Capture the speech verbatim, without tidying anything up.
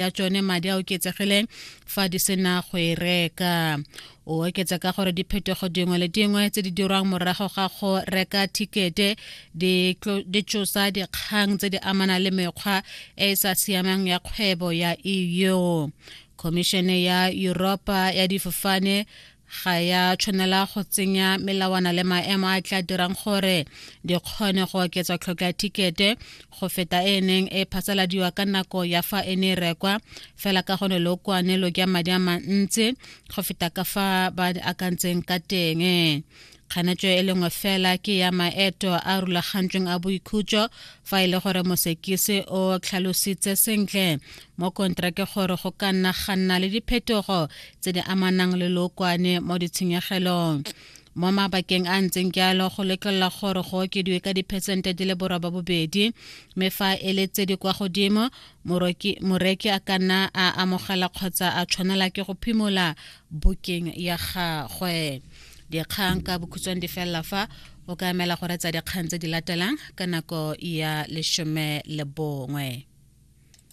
Ya tsone madi a oketsegileng fa di sena go e reka. O oketsa ka gore diphetogo dingwe le dingwe tse di dirwang morago ga go reka thikete di tsosa dikgang tse di amanang le mekgwa e e sa siamang ya kgwebo ya E U. Khomišene ya Yuropa ya Difofane ga ya tshwanela go tsenya melawana le maemo a tla dirang gore di kgone go oketsa tlhokwa ya thikete go feta e neng e phasaladiwa ka nako ya fa e ne e rekwa, fela ka gone lookwane lo ja madi a mantsi go feta ka fa ba akantseng ka teng. Kganetso e lengwe fela ke ya maeto a rulagantsweng a boikhutso, fa e le gore mosekisi o tlhalositse sentle mo kontrake gore go ka nna ga nna le diphetogo tse di amanang le lookwane mo ditshenyegelong. Mo mabakeng a ntseng jalo, go letlelela gore go okediwe ka diphesente di le borobabobedi, mme fa e le tse di kwa godimo, moreki a ka nna a amogela kgotsa a tshwanela ke go phimola booking ya gagwe. Dikgang ka bokhutshwane di felela fa. O ka emela go retsa dikgang tse di latelang ka nako ya lesome le bongwe.